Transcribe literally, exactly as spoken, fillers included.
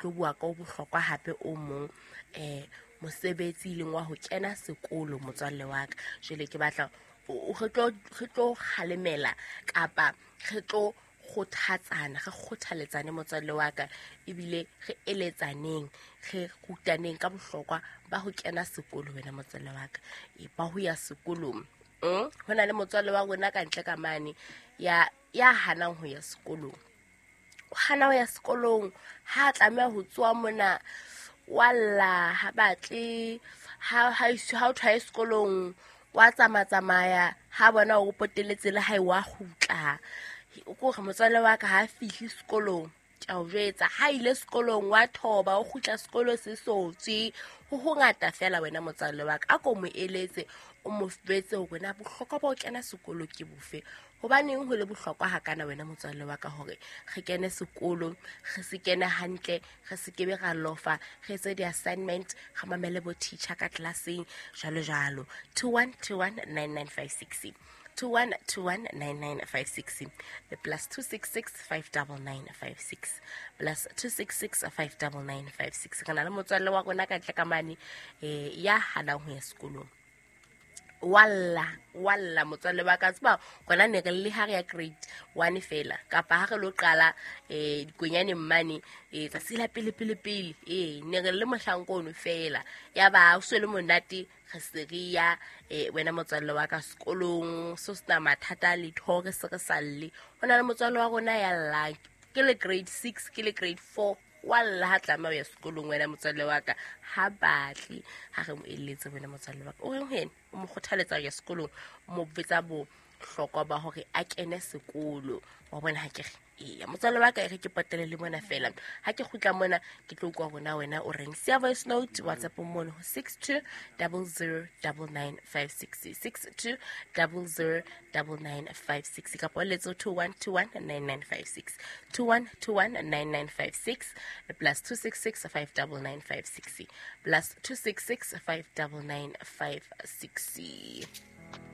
Tlo bua ka o bohlokwa hape o mong, um mosebetsi e leng wa ho kena sekolo motswalle wa ka. Jwale ke batla re tlo re tlo kgalemela kapa re tlo kgothatsana, re kgothaletsane motswalle wa ka, ebile re eletsaneng, re rutaneng ka bohlokwa ba ho kena sekolo wena motswalle wa ka, e ba ho ya sekolong. Mm? Ho na le motswalle wa rona ka ntle ka mane ya ya hanang ho ya sekolong. O hana ho ya sekolong, ha tlameha ho tsoa mona walla, ha batle, ha ha ha o thwae sekolong, wa tsamatsamaya, ha bona o poteletse le hae wa kgutla. O ko re motswalle wa ka ha fihli sekolong, ke a o jwetsa, ha ile sekolong wa thoba, o kgutla sekolo se sotswe. Ho hongata fela wena motswalle wa ka, a ko mo eletse, o mo jwetse hore na bohlokwa ba ho kena sekolo ke bofe. Hobaneng ho le bohlokwa hakana wena motswalle wa ka hore re kene sekolo, re se kene hantle, re se kebe ra lofa, re etse di-assignment, re mamele bo teacher ka classeng, jwalo jwalo. two one two one nine nine five six, two one two one nine nine five six, le plus two six six five double nine five six, plus two six six five double nine five six. Re na le motswalle wa rona ka ntle ka mane, eh, ya hanang ho ya sekolong. Walla, walla motswalle wa ka, tseba rona ne re le ha re ya grade one fela, kapa ha re lo qala, eh, dikonyane mmane, eh, tsatsi la pele pele pele, eh, ne re le mohlanka ono fela. Ya ba o se le monate, re se re ya, eh, wena motswalle wa ka sekolong, so sena mathata a letho, re se re sa lle. Ho na le motswalle wa rona ya llang, ke le grade six, ke le grade four, walla ha tlameha ho ya sekolong wena motswalle wa ka, ha batle ha re mo eletse wena motswalle wa ka. O reng ho yena? O mo kgothaletsa ho ya sekolong, o mo betsa bohlokwa ba hore a kene sekolo. Wa bona ha ke re, eya motswalle wa ka, e re ke potele le mona fela. Ha ke kgutla mona ke tlo utlwa hore na wena o reng. Siya voice note WhatsApp mono ho six two double zero double nine five six, six two double zero double nine five six, kapa o letse two one two one nine nine five six, two one two one nine nine five six, plus two six six five double nine five six, plus two six six five double nine five six.